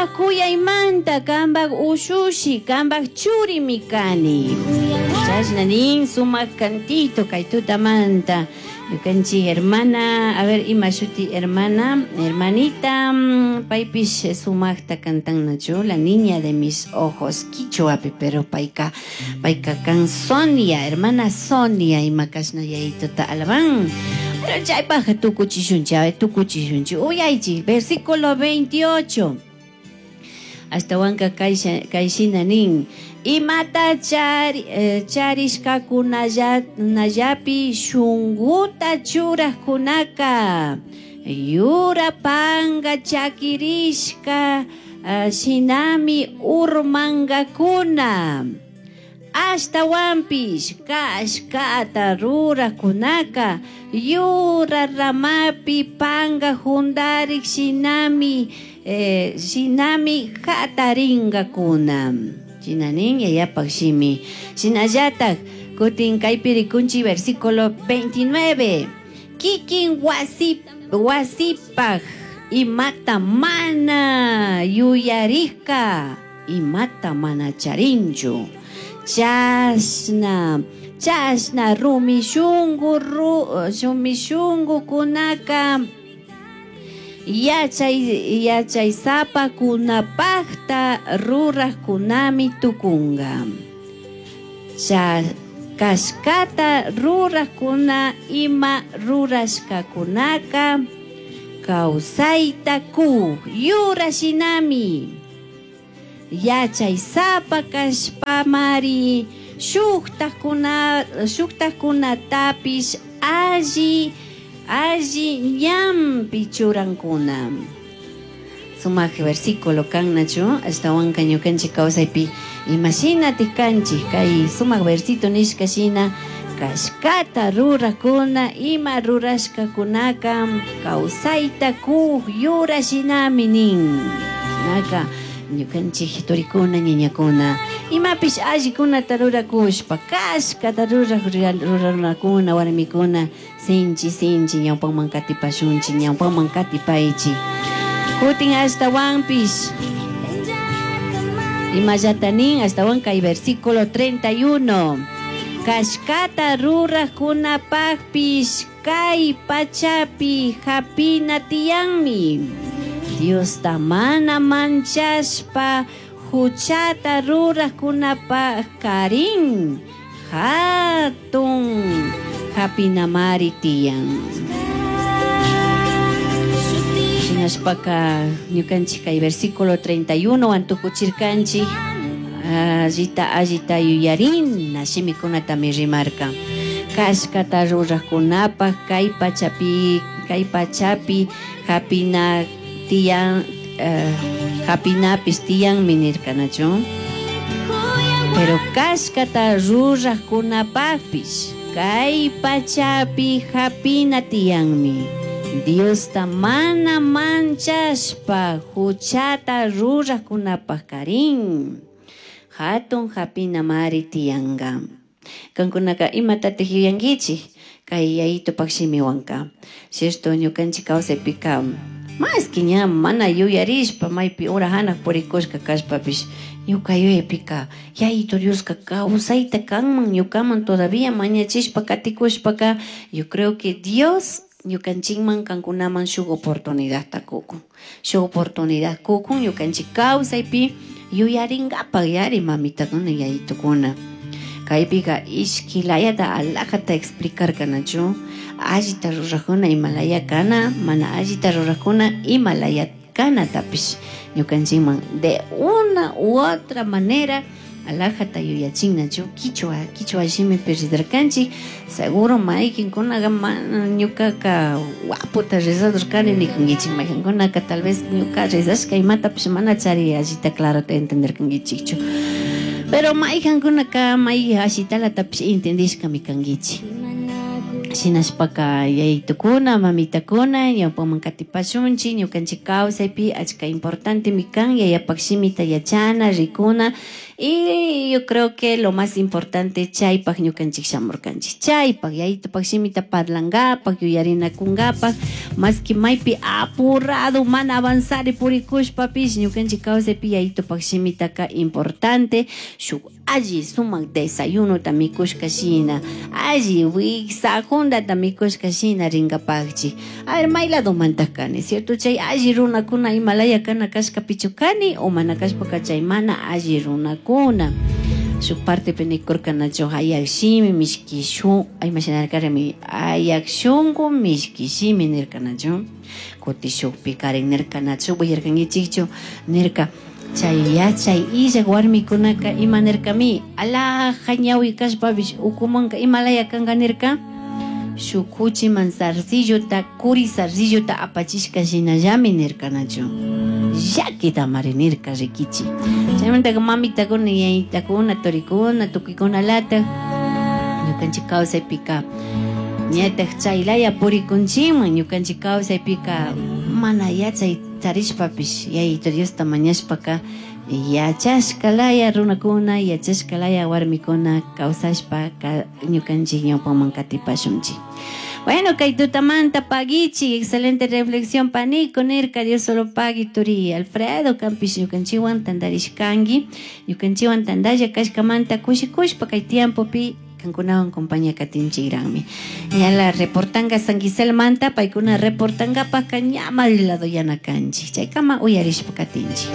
Cambaj cuyaimanta, cambaj ushushi, cambaj churimi cani. Chashna nin sumak cantito kay tutamanta. Ñukanchik hermana, a ver ima shuti hermana, hermanita, paypish sumakta cantannachu, la niña de mis ojos, quichuapi, pero payka, payka kan Sonia, hermana Sonia, ima kashna yayituta alaban. Pero chaypaj tukuchishunchik, a ver, tukuchishunchik, uyaychik, versículo 28. Ashtawanka kay shina nin, imata charishkakunallapi shunguta churajkunaka, yura panga chakirishka shinami urmangakuna. Ashtawanpish kashkata rurajkunaka, yura ramapi panga jundarik shinami, shinami jataringakuna. Shina nin yayapak shimi. Shinallatak kutin kaypi rikunchik versículo 29. Kikin wasipaj imata mana yuyarikka, imata mana charinchu. Chashna, chashna rumi shungu rumi shungukunaka yachaysapakunapajta rurajkunami tukunga. Kashkata rurajkuna ima rurashkakunaka kawsayta ku yura shinami. Yachaysapa kashpamari shuktakunatapish alli, alli ñanpi churankuna. Sumak versículo kannachu, ashtawanka ñukanchik kawsaypi imashinatik kanchik kay sumak versito nishka shina kashkata rurakuna ima rurashkakunaka kawsayta kuj yura shinami nin. Shinaka ñukanchik turikuna ñañakuna imapish allikunata rurakushpa kashkata rurak rurarunakuna warmikuna sinchi sinchi ñawpaman katipashunchik ñawpaman katipaychik. Kutin ashtawanpish imallata nin ashtawan kay versículo 31. Kashkata rurajkunapajpish kay pachapi hapina tiyanmi. Diosta mana manchashpa huchata rurajkunapaj karin hatun hapinamari tiyan. Shinashpaka ñukanchik kay versículo 31 wan tukuchirkanchik allita allita yuyarina shimikunatami rimarka. Kashkata rurajkunapaj kay pachapi, kay pachapi hapina tiyan, hapinapis tiyanmi nirkanachu. Pero kashkata rurajkunapajpish kay pachapi hapina tiyanmi. Diosta mana manchashpa huchata rurajkunapaj karin hatun hapina mari tiyanka. Kankunaka imatatik yuyankichik kay yayitupak shimiwanka. Cierto, ñukanchik kawsaypika más que ña mana yuyarishpa maypi ura hanaq purikushka kashpapish ñuka yuyaypika yayito Dioska kawsayta kanman ñukaman todavía mañachishpa katikushpaka yo creo que Dios ñukanchikman kankunaman shuk oportunidadta kukun. Shuk oportunidad kukun ñukanchik kawsaypi yuyarinkapak yari mamitakuna yayitukuna. Kaypika ishki layata alajata explicarkanachu allita rurajuna imalaya kana mana allita rurajuna imalaya kanatapish ñukanchikman de una u otra manera alajata yuyachinnachu kichwa kichwa shimipi ridarkanchik seguro maykinkunaqa mana ñukaka waputa rezador kani nikunkichik maykankunaka tal vez ñuka rezashka imatapish mana chari allita clarota entenderkankichikchu. Pero maykankunaka may ashitalatapish entendishkami kankichik. Shinashpaka yayitukuna, mamitakuna, ñawpaman katipashunchik, ñukanchik kawsaypi achka importantemi kan yayapak shimita yachana, rikuna. Y yo creo que lo más importante chaypak ñukanchik shamurkanchik. Chaypak yayitupak shimita parlangapak, yuyarinakungapak, más que maypi apurado mana avanzari purikushpapish ñukanchik kawsaypi yayitupak shimitaka importante shuk alli sumak desayunota mikushka shina, alli wiksa jundata mikushka shina rinkapakchik. A ver, may ladomantaj kani, cierto? Chay alli runakuna imalaya kana kashkapichu kani o mana kashpaka chay mana alli runakuna. Shuk partepi nikurkanachu ayak shimi mishki shun, imashinarkarami ayak shunku mishki shimi nirkanachu. Kuti shukpi karin nirkanachu, uyarkankichikchu nirka. Chay yachay illak warmikunaka ima nirkami alaja ñawi kashpapish ukumanka imalaya kanka nirka shuk kuchiman zarcillota kuri zarcillota apachishka shinallami nirkanachu llakitamari nirka rikichi. Chaymantaka mamitakuna yayitakuna turikuna tukuykunalata ñukanchik kawsaypika ñatak chaylaya purikunchikman ñukanchik kawsaypika mana yachay charishpapish yayito Diosta mañashpaka yachashkalaya runakuna yachashkalaya warmikuna kawsashpa ñukanchik ñawpaman katipashunchik. Bueno, kay tutamanta pagichi, excelente reflexión panico nirka, Dios solo pagui turi Alfredo kampish ñukanchikwan tantarishkanki, ñukanchikwan tantalla kashkamanta kushikushpa kay tiempopi kankunawan compañía katinchikranmi. Ñala reportanga San Gisel manta, paykuna reportangapajka ña lado yana kanchik, chaykama uyarishpa katinchik.